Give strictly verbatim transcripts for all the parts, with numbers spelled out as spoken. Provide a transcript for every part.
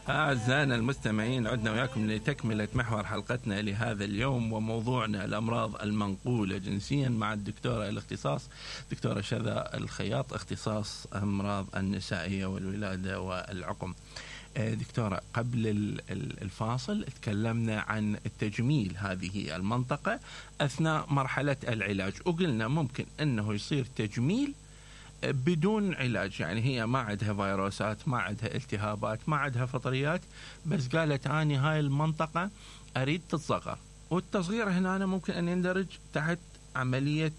أعزائنا المستمعين، عدنا وياكم لتكملة محور حلقتنا لهذا اليوم، وموضوعنا الأمراض المنقولة جنسيا مع الدكتورة الاختصاص دكتورة شذا الخياط، اختصاص أمراض النسائية والولادة والعقم. دكتورة، قبل الفاصل تكلمنا عن التجميل هذه المنطقة أثناء مرحلة العلاج، وقلنا ممكن أنه يصير تجميل بدون علاج، يعني هي ما عندها فيروسات، ما عندها التهابات، ما عندها فطريات، بس قالت أني هاي المنطقة أريد تتصغر، والتصغير هنا أنا ممكن أن يندرج تحت عملية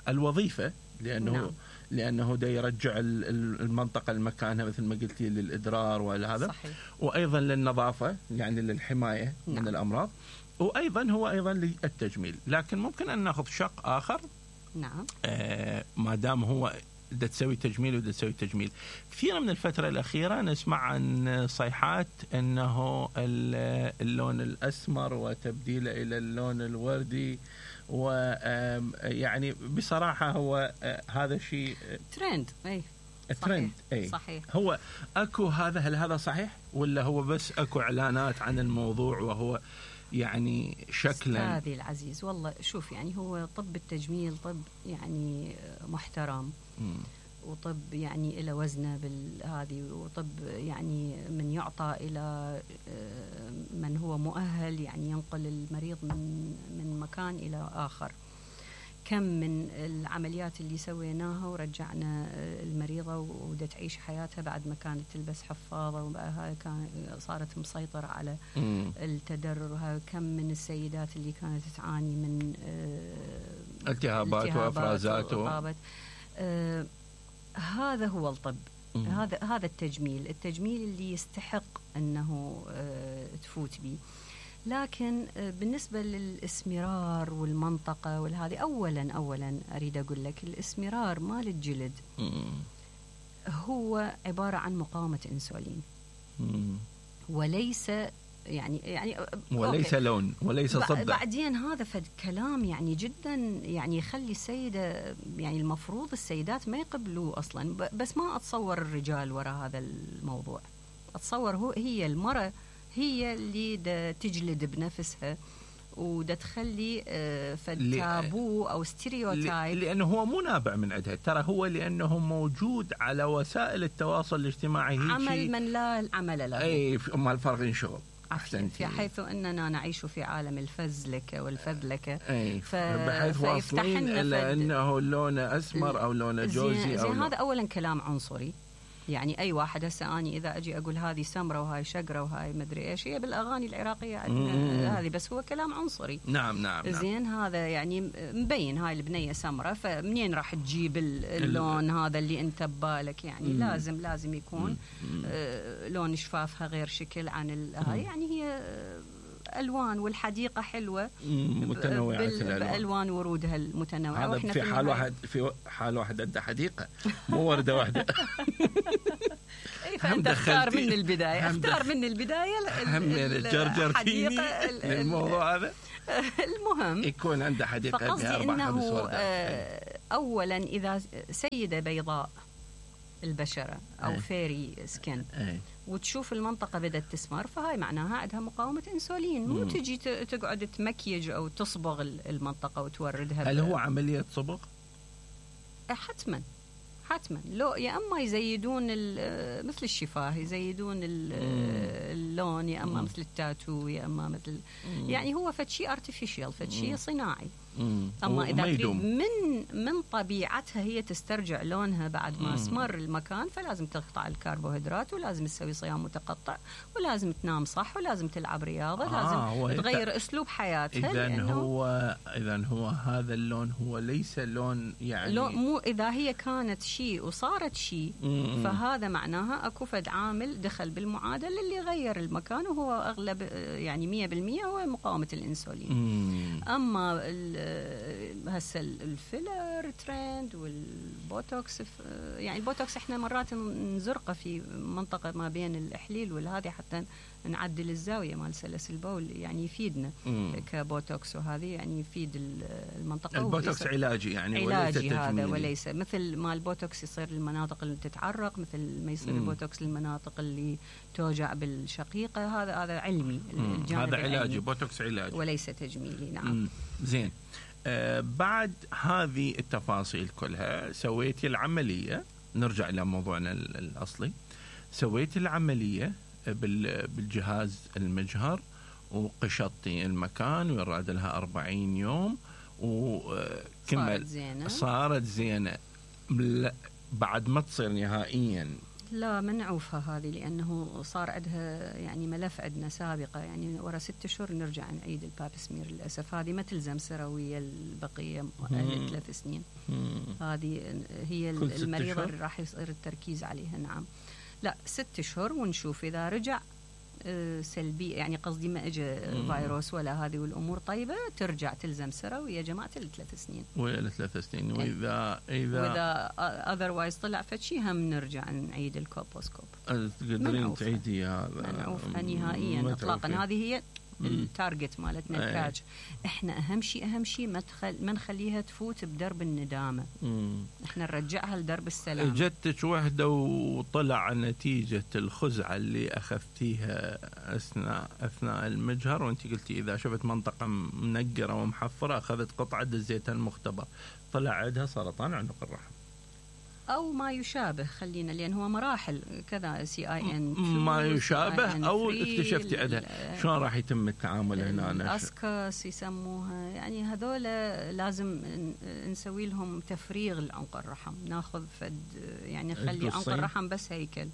الوظيفة، لأنه نعم. لأنه دا يرجع المنطقة لمكانها مثل ما قلتي للإدرار وهذا، وأيضا للنظافة يعني للحماية نعم. من الأمراض، وأيضا هو أيضا للتجميل. لكن ممكن أن نأخذ شق آخر نعم آه ما دام هو دا تسوي تجميل ودا تسوي تجميل. كثيرا من الفترة الأخيرة نسمع عن صيحات أنه اللون الأسمر وتبديله إلى اللون الوردي، ويعني بصراحة هو هذا شيء ترند. أي الترند أي صحيح. هو أكو هذا، هل هذا صحيح ولا هو بس أكو إعلانات عن الموضوع وهو يعني شكلا؟ أستاذي العزيز، والله شوف، يعني هو طب التجميل طب يعني محترم م. وطب يعني إلى وزنه بالهذه، وطب يعني من يعطى إلى من هو مؤهل يعني ينقل المريض من من مكان إلى آخر. كم من العمليات اللي سويناها ورجعنا المريضة ودا تعيش حياتها بعد ما كانت تلبس حفاضة، وبقى كان صارت مسيطرة على التدرر. كم من السيدات اللي كانت تعاني من التهابات وافرازات و... آه هذا هو الطب. مم. هذا هذا التجميل التجميل اللي يستحق أنه آه تفوت به. لكن بالنسبة للإسمرار والمنطقة والهذه، أولا أولا أريد أقول لك الإسمرار مال الجلد هو عبارة عن مقاومة إنسولين، وليس يعني يعني وليس أوكي. لون وليس صدع. بعدين هذا فد كلام يعني جدا يعني يخلي السيدة، يعني المفروض السيدات ما يقبلوه أصلا، بس ما أتصور الرجال وراء هذا الموضوع. أتصور هو هي المرأة هي اللي دا تجلد بنفسها ودا تخلي فتابو أو ستيريوتايب، لأنه هو مو نابع من عندها، ترى هو لأنه موجود على وسائل التواصل الاجتماعي، عمل من لا عمل له. أي ما الفرق إن شغل في حيث أننا نعيش في عالم الفزلكة والفذلكة، ف... بحيث واصلين إلى أنه لونه أسمر أو لونه جوزي زي أو هذا أولا كلام عنصري. يعني أي واحد هسه أني إذا أجي أقول هذه سمرة وهاي شقرة وهاي مدري إيش، هي بالأغاني العراقية هذه، بس هو كلام عنصري. نعم نعم زين نعم. هذا يعني مبين هاي البنية سمرة، فمنين راح تجيب اللون هذا اللي أنت ببالك؟ يعني مم. لازم لازم يكون آه لون شفافها غير شكل عن هاي، يعني هي ألوان، والحديقة حلوة متنوعة بألوان ورودها المتنوعة. وإحنا في, في حال واحد في حال واحد عنده حديقة مو وردة واحدة. فأنت اختار من البداية اختار من البداية الحديقة الموضوع هذا المهم يكون عنده حديقة. فقصدي إنه أولا إذا سيدة بيضاء البشرة أو أي. فيري سكن أي. وتشوف المنطقة بدأت تسمر، فهاي معناها عندها مقاومة إنسولين. مو تجي تقعد تمكيج أو تصبغ المنطقة وتوردها. هل هو عملية صبغ؟ حتما حتما. لو يا أما يزيدون مثل الشفاه، يزيدون اللون، يا أما مثل التاتو، يا أما مثل مم. يعني هو فتشي artificial، فتشي صناعي. مم. أما إذا تريد من من طبيعتها هي تسترجع لونها بعد ما اسمر المكان، فلازم تقطع الكربوهيدرات، ولازم تسوي صيام متقطع، ولازم تنام صح، ولازم تلعب رياضة، آه لازم تغير أسلوب حياتها. إذن هو إذن هو هذا اللون هو ليس لون يعني لو مو إذا هي كانت شيء وصارت شيء، فهذا معناها أكو فد عامل دخل بالمعادلة اللي غير المكان، وهو أغلب يعني مية بالمية هو مقاومة الإنسولين. مم. أما هسه الفيلر ترند والبوتوكس، يعني البوتوكس احنا مرات نزرقه في منطقه ما بين الاحليل والهذه حتى نعدل الزاويه مال سلس البول، يعني يفيدنا مم. كبوتوكس، وهذه يعني يفيد المنطقه. البوتوكس علاجي يعني علاجي وليس هذا، وليس مثل ما البوتوكس يصير للمناطق اللي تتعرق، مثل ما يصير مم. البوتوكس للمناطق اللي توجع بالشقيقه. هذا هذا علمي، الجانب هذا علاجي، بوتوكس علاجي وليس تجميلي. نعم. مم. زين. آه بعد هذه التفاصيل كلها سويتي العمليه، نرجع الى موضوعنا الاصلي، سويتي العمليه بالجهاز المجهر وقشطتي المكان ويراد لها أربعين يوم وكمل، صارت زينة. صارت زينة بعد ما تصير نهائيا. لا منعوفها هذه، لأنه صار عندها يعني ملف عندنا سابقة، يعني ورا ست شهور نرجع نعيد الباب سمير. للأسف هذه ما تلزم سروية البقية ثلاث سنين. مم. هذه هي المريضة اللي راح يصير التركيز عليها. نعم. لا ست شهور ونشوف إذا رجع سلبي، يعني قصدي ما اجى فيروس ولا هذه والامور طيبه، ترجع تلزم سروي يا جماعه الثلاث سنين ويا الثلاث سنين. واذا اذا واذا اذروايز طلع فشي هم نرجع نعيد الكولبوسكوب. تقدرين تعيدي هذا منعوفها نهائيا اطلاقا. هذه هي التارجت مالتنا التاج. احنا اهم شيء اهم شيء ما تخل... ما نخليها تفوت بدرب الندامه. مم. احنا نرجعها لدرب السلام. جتك وحده وطلع نتيجه الخزعه اللي اخذتيها اثناء اثناء المجهر، وانت قلتي اذا شفت منطقه منقره ومحفره اخذت قطعه دزيتها المختبر، طلع عندها سرطان عنق الرحم أو ما يشابه، خلينا لأن هو مراحل كذا، سي آي إن ما يشابه أو اكتشفتي عندها. شلون راح يتم التعامل هنا؟ الأسكاس يسموها، يعني هذول لازم نسوي لهم تفريغ لعنق الرحم، ناخذ فد يعني نخلي عنق الرحم بس هيكل،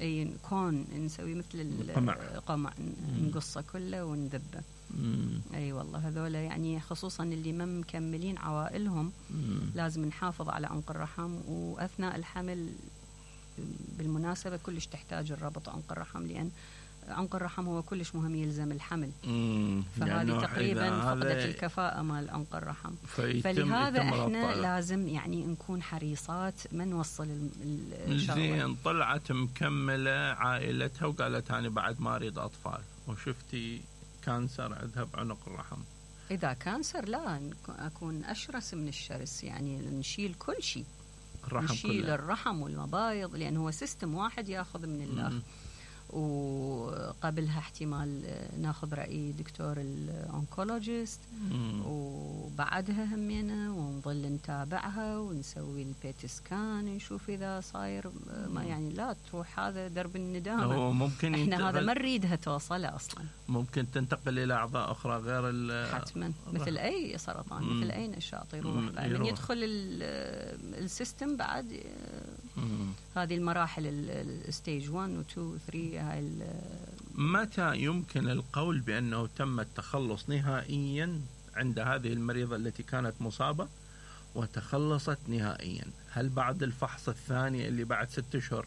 أي كون نسوي مثل القمع، قمع نقصه كله ونذبه. مم. اي والله هذول يعني خصوصا اللي ما مكملين عوائلهم مم. لازم نحافظ على عنق الرحم. واثناء الحمل بالمناسبه كلش تحتاج الربط عنق الرحم، لان عنق الرحم هو كلش مهم يلزم الحمل. مم. فهذه يعني تقريبا فقدت الكفاءه مال عنق الرحم. فلهذا احنا لازم يعني نكون حريصات ما نوصل الشغله. زين طلعت مكمله عائلتها وقالت انا بعد ما اريد اطفال، وشفتي كانسر عندها بعنق الرحم. إذا كانسر لا أكون أشرس من الشرس، يعني نشيل كل شيء، نشيل كله. الرحم والمبايض، لأن هو سيستم واحد يأخذ من الآخر. وقبلها احتمال ناخذ رأي دكتور الأونكولوجيست، وبعدها همينا ونظل نتابعها ونسوي البيت سكان نشوف إذا صاير ما، يعني لا تروح هذا درب الندامة. ممكن احنا هذا ما نريدها توصل أصلا. ممكن تنتقل إلى أعضاء أخرى غير حتما مثل أي سرطان، مم. مثل أي نشاط يروح من يدخل السيستم بعد. مم. هذه المراحل الستيج واحد و اثنين و ثلاثة. هاي متى يمكن القول بأنه تم التخلص نهائيا عند هذه المريضة التي كانت مصابة وتخلصت نهائيا؟ هل بعد الفحص الثاني اللي بعد ست أشهر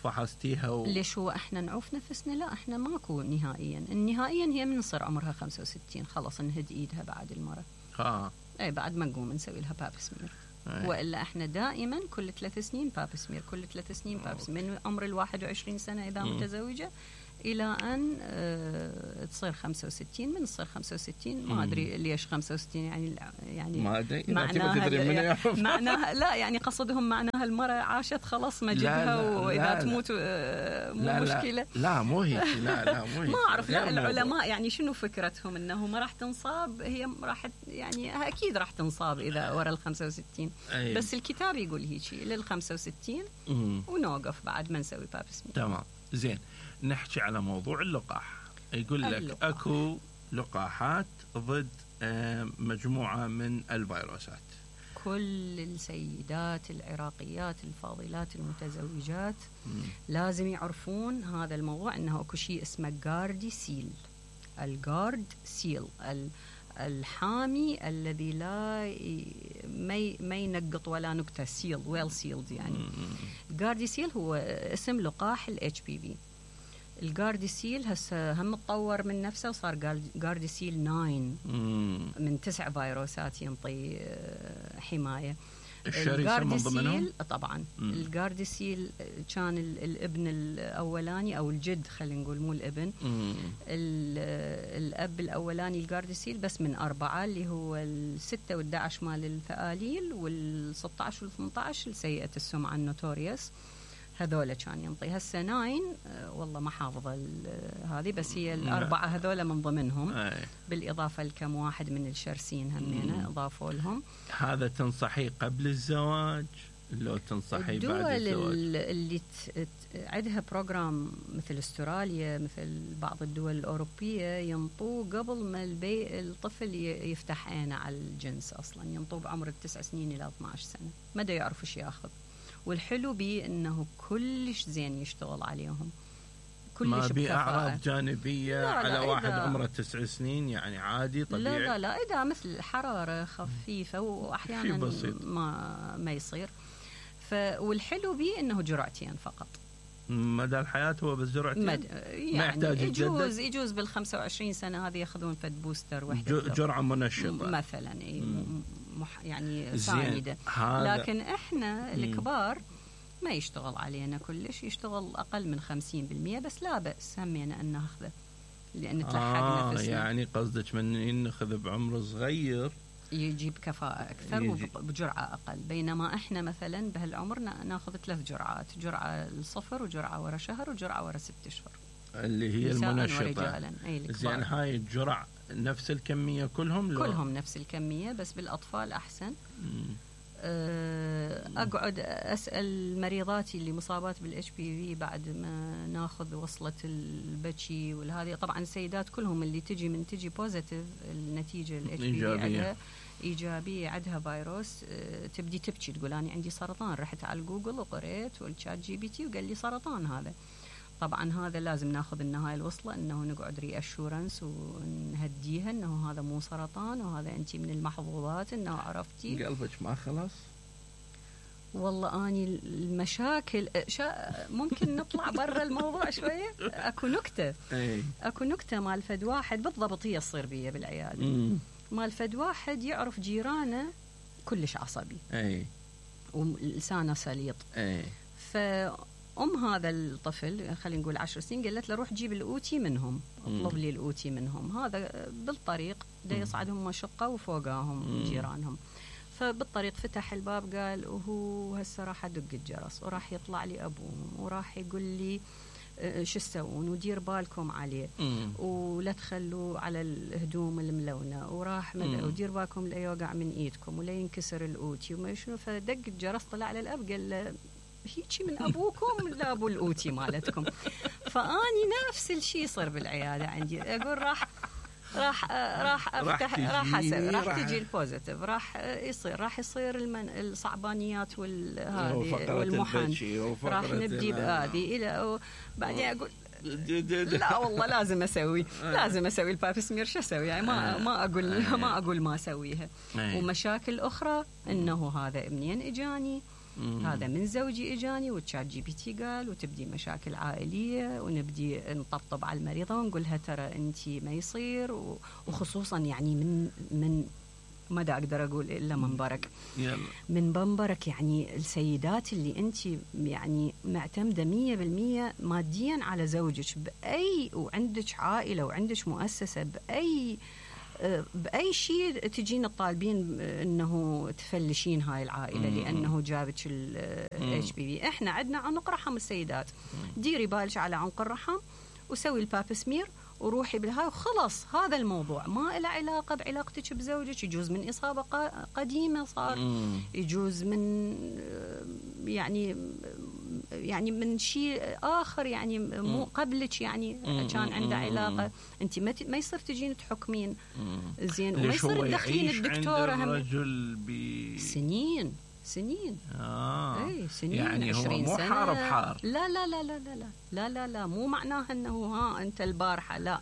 فحصتيها و... ليش هو احنا نعوف نفسنا؟ لا احنا ماكو نهائيا. النهائيا هي من صار عمرها خمسة وستين خلص نهد ايدها بعد المرة. اه اي بعد ما نقوم نسوي لها باب سمير. وإلا احنا دائما كل ثلاث سنين باب سمير، كل ثلاث سنين باب سمير من عمر الواحد وعشرين سنة إذا م. متزوجة إلى أن اه تصير خمسة وستين. من تصير خمسة وستين ما أدري ليش خمسة وستين، يعني يعني ما أدري معناها, معناها لا يعني قصدهم معناها المرأة عاشت خلاص مجدها، وإذا لا تموت اه مو لا مشكلة. لا, لا مو هيك، لا لا مو هيك. ما أعرف. لا العلماء يعني شنو فكرتهم إنه ما راح تنصاب، هي راح يعني أكيد راح تنصاب إذا ورا الخمسة وستين. أيه. بس الكتاب يقول هيك للخمسة وستين ونوقف بعد ما نسوي باب سمير. تمام. زين نحكي على موضوع اللقاح. يقول لك اللقاح. أكو لقاحات ضد مجموعة من الفيروسات. كل السيدات العراقيات الفاضلات المتزوجات مم. لازم يعرفون هذا الموضوع، أنه أكو شيء اسمه جاردي سيل. الجارد سيل الحامي الذي لا ما ينقط ولا نكتة، سيل ويل سيلد يعني. جاردي سيل هو اسم لقاح الاتش بي في. الجارديسيل هسه هم تطور من نفسه وصار جارديسيل تسعة من تسع فيروسات ينطي حمايه. الشرسة من ضمنهم طبعا. مم. الجارديسيل كان الابن الاولاني او الجد، خلينا نقول مو الابن. الاب الاولاني الجارديسيل بس من اربعه، اللي هو الستة والدعش مال الفآليل، والستة عشر والثمانية عشر السيئة السمعة النوتوريوس، هذول كان ينطي. هسه ناين والله ما حافظه هذه، بس هي الاربعه هذول من ضمنهم. أي. بالاضافه لكم واحد من الشرسين همينه اضافوا لهم. هذا تنصحي قبل الزواج لو تنصحي بعد الزواج؟ الدول اللي عندها بروجرام مثل استراليا، مثل بعض الدول الاوروبيه، ينطوه قبل ما البي الطفل يفتح عينه على الجنس اصلا، ينطوه بعمر التسع سنين الى اثني عشر سنه، ما دا يعرف ايش ياخذ. والحلو بيه انه كلش زين يشتغل عليهم، كلش ما بيه اعراض جانبيه. لا لا، على واحد عمره تسع سنين يعني عادي طبيعي. لا لا لا، اذا مثل الحراره خفيفه واحيانا ما ما يصير. ف والحلو بيه انه جرعتين فقط مدى الحياه، هو بس جرعتين. مد... يعني ما يحتاج يجوز يجوز بال خمسة وعشرين سنه هذه ياخذون فد بوستر وحده، جرعه منشطه مثلا، مح يعني ساندة. لكن احنا الكبار ما يشتغل علينا كلش، يشتغل أقل من خمسين بالمئة، بس لا بأس همينا أن ناخذه لأن تلحق آه نفسنا. يعني قصدك من ناخذ بعمر صغير يجيب كفاءة أكثر يجي. وبجرعة أقل، بينما إحنا مثلا بهالعمر ناخذ ثلاث جرعات، جرعة الصفر وجرعة ورا شهر وجرعة ورا ست أشهر اللي هي المنشطة. زين هاي الجرع نفس الكمية كلهم؟ لو كلهم نفس الكمية، بس بالأطفال أحسن. مم. أقعد أسأل مريضاتي اللي مصابات بالإتش بي في بعد ما ناخذ وصلة البكي والهذه. طبعا السيدات كلهم اللي تجي من تجي بوزيتيف النتيجة الإتش بي في عندها إيجابية، عندها فيروس، تبدي تبكي تقول أنا عندي سرطان. رحت على جوجل وقريت والشات جي بي تي وقال لي سرطان هذا. طبعا هذا لازم ناخذ النهاية الوصلة، انه نقعد ري اشورنس ونهديها انه هذا مو سرطان وهذا انت من المحظوظات انه عرفتي. قلبك ما خلاص؟ والله اني المشاكل شا ممكن نطلع برا الموضوع شويه. اكو نكته أي. اكو نكته مال فد واحد بالضبط هي تصير بيه بالعياده. مم. مال فد واحد يعرف جيرانه كلش عصبي اي ولسانه سليط اي. ف أم هذا الطفل خلينا نقول عشر سنين قالت له روح جيب الأوتي منهم، اطلب لي الأوتي منهم. هذا بالطريق دا يصعدهم مشقة وفوقاهم جيرانهم، فبالطريق فتح الباب قال وهو هسه راح أدق الجرس وراح يطلع لي أبوهم وراح يقول لي شو تسوون ودير بالكم عليه ولا تخلوا على الهدوم الملونة وراح ودير بالكم لا يوقع من إيدكم ولا ينكسر الأوتي وما شنو. فدق الجرس طلع على الأب قال له هيجي من أبوكم لا أبو الأوتي مالتكم. فأني نفس الشيء صار بالعيادة عندي، أقول راح راح راح أفتح راح أسوي راح تجي البوزيتيف راح يصير راح يصير المن الصعبانيات والهذه والمحن راح نبدي بهذه إلى بعدين أقول لا والله لازم أسوي لازم أسوي الباب سمير. شو أسوي يعني ما ما أقول ما أقول ما أسويها. ومشاكل أخرى إنه هذا منين إجاني، هذا من زوجي اجاني والشات جي بي تي قال، وتبدي مشاكل عائليه ونبدي نطبطب على المريضه ونقول لها ترى انت ما يصير، وخصوصا يعني من من ما دا اقدر اقول الا منبرك يلا. من منبرك يعني السيدات اللي انت يعني معتمده مية بالمية ماديا على زوجك باي، وعندك عائله وعندك مؤسسه باي بأي شيء تجين الطالبين انه تفلشين هاي العائله لانه جابك الاتش بي في. احنا عندنا عنق رحم السيدات، ديري بالك على عنق الرحم وسوي الباب سمير وروحي بالهاي وخلص. هذا الموضوع ما له علاقه بعلاقتك بزوجك. يجوز من اصابه قديمه صار، يجوز من يعني يعني من شيء آخر يعني مو قبلك يعني كان عنده علاقة. أنت ما ما يصير تجين تحكمين زين وما يصير تدخلين الدكتورة هم الرجل ب سنين سنين آه. اي سنين يعني هو مو حار بحار. لا لا لا لا لا لا لا لا لا مو معناها انه ها انت البارحة لا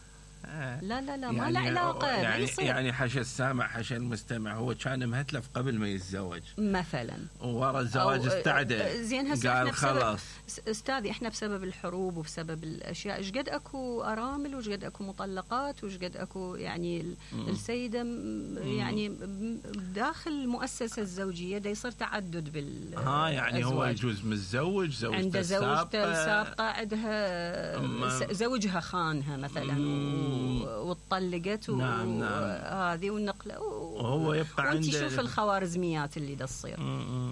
لا لا لا يعني ما له علاقة. يعني, يصير. يعني حاشا السامع حاشا المستمع هو كان مهتلف قبل ما يتزوج مثلا، وورا الزواج استعدى زين هسه قال خلاص. استاذي احنا بسبب الحروب وبسبب الاشياء ايش قد اكو ارامل وايش قد اكو مطلقات وايش قد اكو يعني مم. السيده يعني داخل المؤسسه الزوجيه دا يصير تعدد بال ها يعني هو يجوز متزوج زوجته عنده زوجته السابقه عندها زوجها خانها مثلا وطلقت نعم وهذه والنقله وهو يبقى عنده. وانت شوف الخوارزميات اللي دا تصير،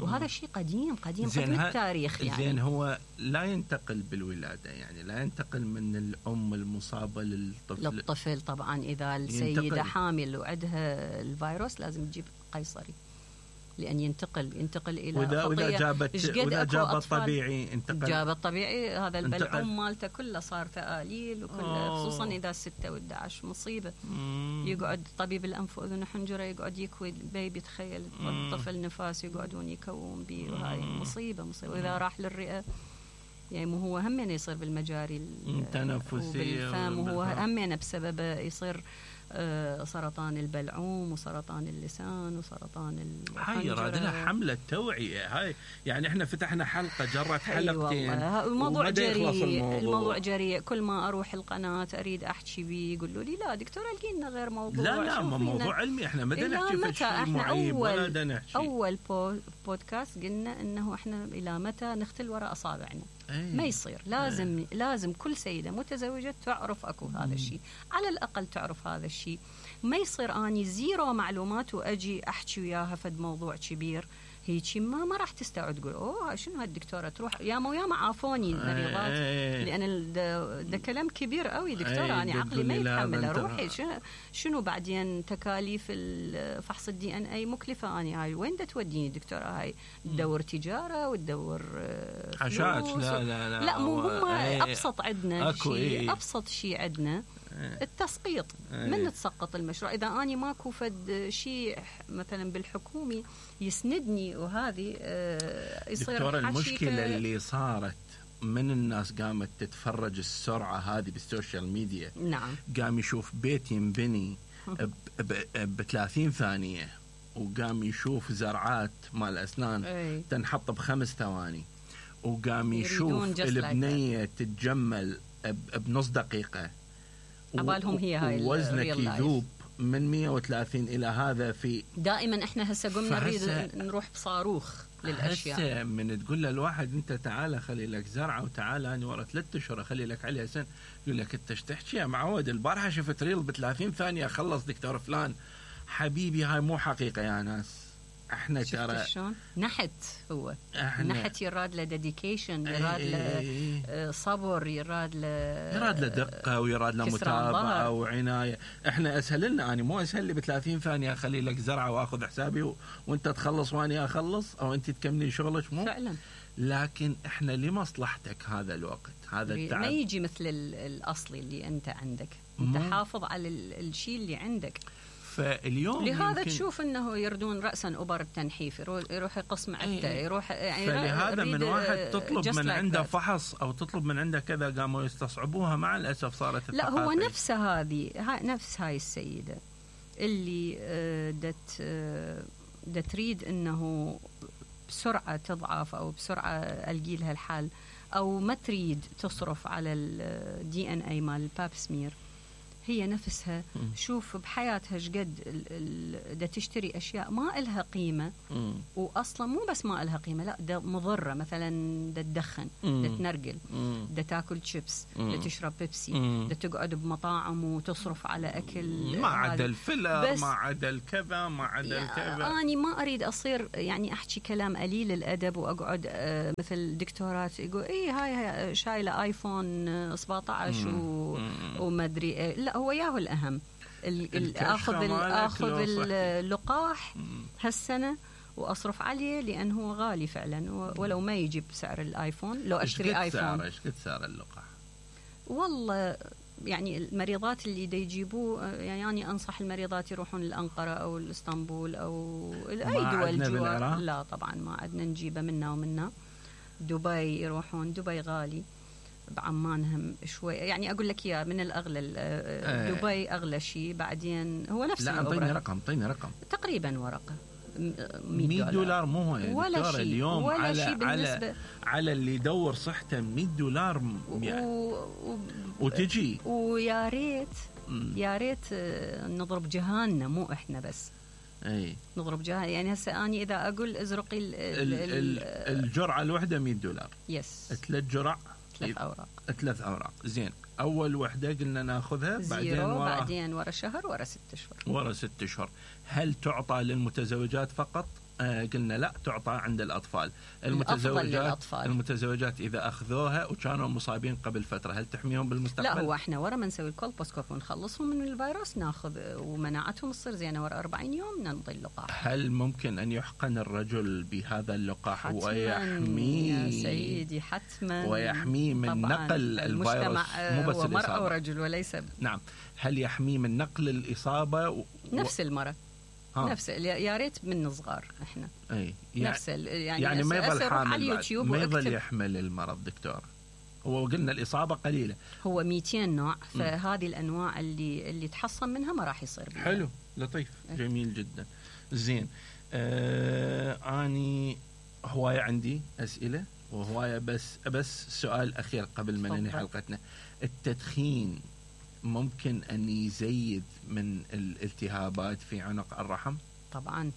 وهذا شيء قديم قديم قديم التاريخ يعني. زين هو لا ينتقل بالولاده، يعني لا ينتقل من الام المصابه للطفل للطفل طبعا. اذا السيده ينتقل. حامل وعندها الفيروس لازم تجيب قيصري لأن ينتقل ينتقل إلى وإذا خطية. وإذا جابت وإذا جابت طبيعي انتقل. جابت طبيعي هذا البلعوم مالته كله صار ثقاليل وكله، خصوصا إذا ستة وإحدى عشر مصيبة. مم. يقعد طبيب الأنف وأذن وحنجرة يقعد يكوي البيبي، تخيل الطفل نفاس يقعدون يكوون به، وهاي مصيبة مصيبة. وإذا راح للرئة يعني مو هو همين يصير بالمجاري التنفسية وبالفم، وهو همين بسببه يصير سرطان البلعوم وسرطان اللسان وسرطان الحنجرة. هاي راد لها حملة توعية. هاي يعني احنا فتحنا حلقة جرت حلقتين. الموضوع جريء، الموضوع. الموضوع جريء. كل ما اروح القناة اريد احكي بيه يقولوا لي لا دكتورة القي لنا غير موضوع. لا لا موضوع علمي، احنا ما بدنا نحكي في شيء معيب ولا بدنا نحكي. اول بودكاست قلنا انه احنا الى متى نختل وراء اصابعنا. أيه. ما يصير. لازم أيه. لازم كل سيدة متزوجة تعرف اكو هذا الشيء، على الاقل تعرف هذا الشيء. ما يصير اني زيرو معلومات واجي احكي وياها فد موضوع كبير هيك ما ما راح تستوعب. تقول اوه شنو هالدكتوره تروح يا مو يا ما عافوني المريضات. أيه. لان ده كلام كبير قوي دكتوره. أيه. انا عقلي ما يتحمل. روحي شنو شنو بعدين تكاليف فحص الدي ان اي مكلفه. اني هاي وين دا توديني دكتوره؟ هاي تدور تجاره وتدور حشاش. لا لا لا لا مو هم. أيه. ابسط عندنا شيء. أيه. ابسط شيء عندنا التسقيط. أيه. من تسقط المشروع اذا اني ماكو فد شيء مثلا بالحكومي يسندني وهذه آه يصير دكتورة المشكلة اللي صارت من الناس قامت تتفرج السرعة هذه بالسوشيال ميديا. نعم. قام يشوف بيت ينبني ب ثلاثين ثانية وقام يشوف زرعات مال أسنان أي. تنحط بخمس ثواني وقام يشوف البنية تتجمل بنص دقيقة عبالهم هي هاي وزنك يذوب من مية وثلاثين إلى هذا. في دائما إحنا هسه قمنا نريد نروح بصاروخ للأشياء. هسه من تقول للواحد أنت تعال خلي لك زرعة وتعال أنا ورا ثلاثة أشهر خلي لك عليها سن، يقول لك أنت تحكي يا معود البارحة شفت ريل بثلاثين ثانية خلص دكتور فلان. حبيبي هاي مو حقيقة يا ناس. احنا ترى شلون نحت هو نحت يراد له ديديكيشن، يراد له صبر، يراد له يراد له دقه ويراد له متابعه وعنايه. احنا اسهل لنا، انا مو اسهل لي ب ثلاثين ثانيه اخلي لك زرعه واخذ حسابي و... وانت تخلص واني اخلص او انت تكملي شغلك. مو فعلا. لكن احنا لمصلحتك هذا الوقت هذا التعب ما يجي مثل الاصلي اللي انت عندك. انت حافظ على الشيء اللي عندك. فاليوم لهذا تشوف انه يردون راسا ابر التنحيف، يروح يقص معدته، يروح يعني. فلهذا من واحد تطلب من عنده فحص او تطلب من عنده كذا قاموا يستصعبوها. مع الاسف صارت لا هو نفس هذه نفس هاي السيده اللي دت دت تريد انه بسرعه تضعف او بسرعه القي لها الحال، او ما تريد تصرف على الدي ان اي مال الباب سمير. هي نفسها م. شوف بحياتها شقد دا تشتري أشياء ما إلها قيمة، م. وأصلا مو بس ما إلها قيمة، لا دا مضرة. مثلا دا تدخن، دا تنرقل، دا تاكل شيبس، دا تشرب بيبسي، م. دا تقعد بمطاعم وتصرف على أكل ما عدا الفيلر، ما عدا الكذا، ما عدا الكذا. أنا ما أريد أصير يعني أحكي كلام قليل الأدب وأقعد آه مثل دكتورات يقول إيه هاي شايلة آيفون سبعة عشر و... وما أدري إيه. لا هو ياهو الأهم أخذ أخذ اللقاح هالسنة وأصرف عليه لأن هو غالي فعلا، ولو ما يجيب سعر الآيفون. لو أشتري آيفون إيش قد سعر اللقاح؟ والله يعني المريضات اللي دا يجيبوه يعني أنا أنصح المريضات يروحون الأنقرة أو الإسطنبول أو أي دول جوا. لا طبعا ما عندنا نجيبه منا ومنا. دبي يروحون، دبي غالي. بعمان هم شوي يعني اقول لك اياه من الاغلى آه. دبي اغلى شيء، بعدين هو نفس لا اعطيني رقم اعطيني رقم تقريبا ورقه مية دولار مو هو ولا شيء اليوم ولا على شيء على على اللي يدور صحته مية دولار يعني و... و... وتجي ويا ريت يا ريت نضرب جهاننا مو احنا بس اي نضرب جهه يعني هسه اني اذا اقول ازرقي ال ال ال الجرعه الواحده مية دولار يس ثلاث جرع ثلاث اوراق ثلاث اوراق زين اول وحده قلنا ناخذها بعدين ورا بعدين ورا شهر ورا ست اشهر ورا ست اشهر هل تعطى للمتزوجات فقط؟ آه قلنا لا تعطى عند الأطفال. المتزوجات المتزوجات إذا أخذوها وكانوا مصابين قبل فترة هل تحميهم بالمستقبل؟ لا هو احنا ورا ما نسوي الكولبوسكوب ونخلصهم من الفيروس ناخذ ومناعتهم تصير زينة ورا أربعين يوم ننطي اللقاح. هل ممكن أن يحقن الرجل بهذا اللقاح ويحميه يا سيدي حتما ويحميه من نقل الفيروس مو بس هو مرأة ورجل وليس نعم هل يحميه من نقل الإصابة و... نفس المرض ها. نفس يا ريت من صغار احنا اي نفس يعني يعني ما يظل حامل ما يظل يحمل المرض دكتور. هو قلنا الاصابه قليله هو مئتين نوع فهذه الانواع اللي اللي تحصن منها ما راح يصير بيها. حلو لطيف أه. جميل جدا زين آه اني هوايه عندي اسئله وهوايه بس بس سؤال اخير قبل ما ننهي حلقتنا. التدخين ممكن أن يزيد من الالتهابات في عنق الرحم؟ طبعا.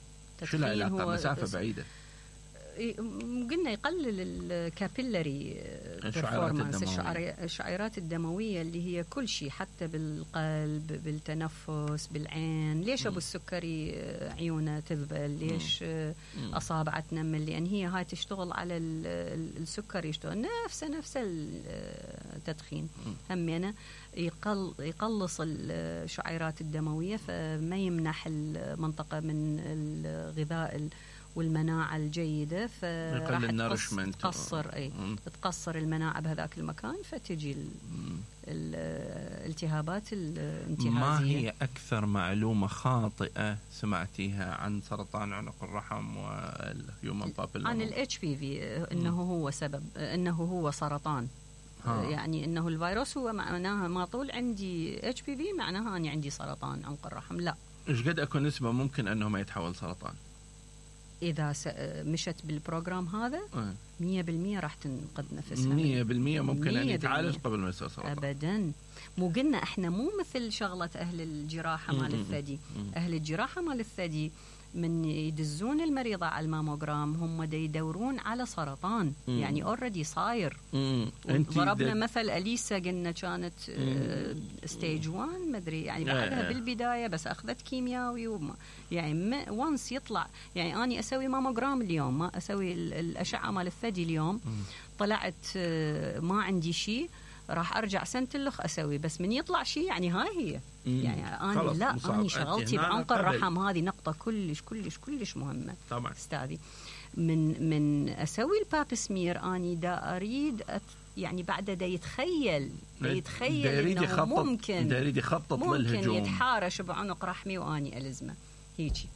شو العلاقة؟ مسافة بعيدة. قلنا يقلل الكابيلاري بيرفورمانس الشعيرات الدموية اللي هي كل شيء حتى بالقلب بالتنفس بالعين. ليش أبو السكري عيونه تذبل؟ ليش أصابعه تنمل؟ لأن هي هاي تشتغل على السكر يشتغل نفس نفس التدخين همينة يقل يقلص الشعيرات الدموية فما يمنح المنطقة من الغذاء والمناعة الجيدة فراح تقصر أي تقصر المناعة بهذاك المكان فتجي الالتهابات الانتهازية. ما هي أكثر معلومة خاطئة سمعتيها عن سرطان عنق الرحم والهيومن بابيلوما؟ عن الاتش بي في إنه هو سبب إنه هو سرطان. ها. يعني إنه الفيروس هو معناها ما طول عندي اتش بي في معناها أني عندي سرطان عنق الرحم. لا. إيش قد أكون نسبة ممكن أنه ما يتحول سرطان؟ إذا مشت بالبروجرام هذا مية بالمية راح تنقذ نفسها. مية بالمية ممكن أن يتعالج قبل ما يصير سرطان. أبدا. مو قلنا إحنا مو مثل شغلة أهل الجراحة مال الثدي. أهل الجراحة مال الثدي من يدزون المريضة على الماموجرام هم دا يدورون على سرطان. مم. يعني اوريدي صاير. ضربنا مثل أليسا قلنا كانت ستيج واحد مدري يعني بعدها آه. بالبداية بس أخذت كيميائي وما يعني وانس يطلع يعني أنا أسوي ماموجرام اليوم ما أسوي الأشعة مال الثدي اليوم. مم. طلعت ما عندي شيء راح أرجع سنة الأخ أسوي بس من يطلع شيء يعني هاي هي. مم. يعني أنا لا أنا شغلتي بعنق الرحم هذه نقطة كلش كلش كلش مهمة طبعا استاذي. من من أسوي الباب سمير أني دا أريد يعني بعد دا يتخيل دا يتخيل دا إنه ممكن دا يريد يخطط للهجوم ممكن يتحارش بعنق رحمي وأني ألزمه هيجي.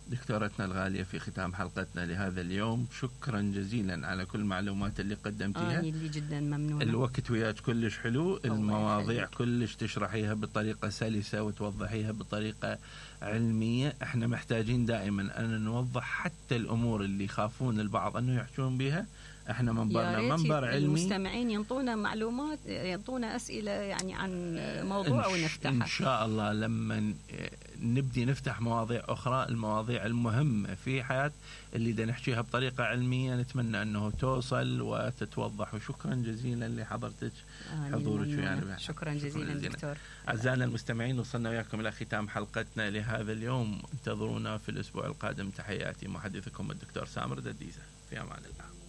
دكتورتنا الغالية في ختام حلقتنا لهذا اليوم شكرا جزيلا على كل المعلومات اللي قدمتيها. آه اللي جدا ممنونة. الوقت وياك كلش حلو. المواضيع كلش تشرحيها بطريقة سلسة وتوضحيها بطريقة علمية. احنا محتاجين دائما أن نوضح حتى الأمور اللي يخافون البعض أنه يحجون بها. احنا منبرنا منبر علمي. المستمعين ينطونا معلومات ينطونا أسئلة يعني عن موضوع ونفتحها إن شاء الله لما نبدي نفتح مواضيع أخرى. المواضيع المهمة في حياة اللي دا نحكيها بطريقة علمية نتمنى أنه توصل وتتوضح. وشكرا جزيلا لحضرتك حضورك ويانا. شكرا جزيلا دكتور. أعزائنا المستمعين وصلنا وياكم إلى ختام حلقتنا لهذا اليوم. انتظرونا في الأسبوع القادم. تحياتي محدثكم الدكتور سامر دديزة في أمان الله.